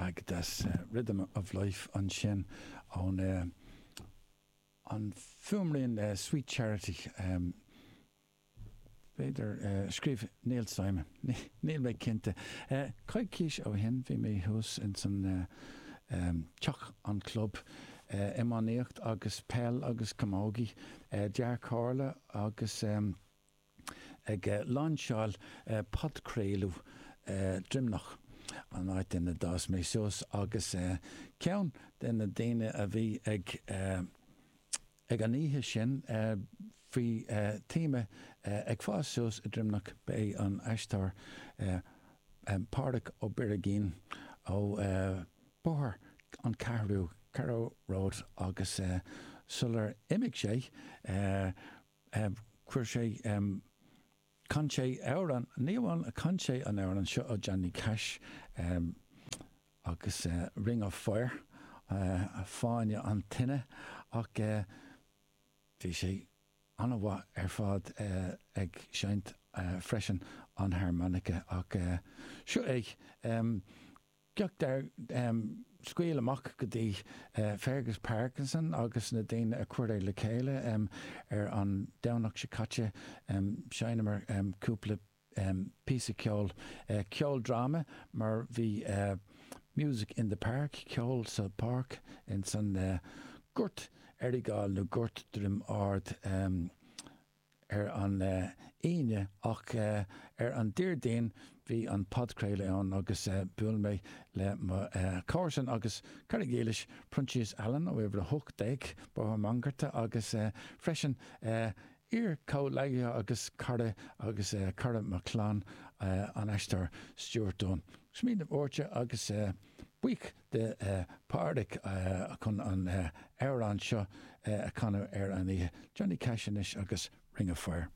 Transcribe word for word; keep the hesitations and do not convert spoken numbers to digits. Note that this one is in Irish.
Go deas, Rhythm of Life ansin ón an fuaimrian Sweet Charity, b'fhéidir, a scríobh Neil Simon, níl mé cinnte. Coicís ó shin bhí mé thuas ins an teach, an club iománaíocht agus peil agus camógaí, Dea-Chomhairle agus. ag lainseáil podchraoladh Droimneach, an áit ina d'fhás mé suas, agus ceann de na daoine a bhí ag ag an oíche sin faoi téama Ag Fás Suas i Droimneach ba é an aisteoir Pádraig Ó Birigín ó Bóthar an Cheathrú, Carrow Road, agus sular imigh sé Chuir sé, chan sé amhrán, ní amháin a chan sé an amhrán seo ó Johnny Cash agus Ring of Fire, Fáinne an Tine, ach bhí sé an-mhaith ar fad ag seinnt freisin an harmonica ach seo é. Gach scaoll amach go dtí Fergus Parkinson agus na daoine a chuir é le chéile ar an Domhnach seo caite. Sheinneamar cúpla píosa ceoil, ceoldráma mar bhí Music in the Park, ceol sa pháirc ins an Gort Errigal nó Gort Droim Ard. ar an Aoine ach ar an Déardaoin bhí an podchraoladh ann agus bhuail mé le mo chomharsan agus cara dílis, Proinsias Allen ó uimhir a hocht déag, Bóthar Mangarta agus freisin iar-chomhghleacaithe agus cara agus cara mo chlann, an aisteoir Stuart Dunne. Smaoineamh uaite agus buíoch de Phádraig chun an amhrán seo a chanadh ar an oíche. Johnny Cash anois agus Ring of Fire.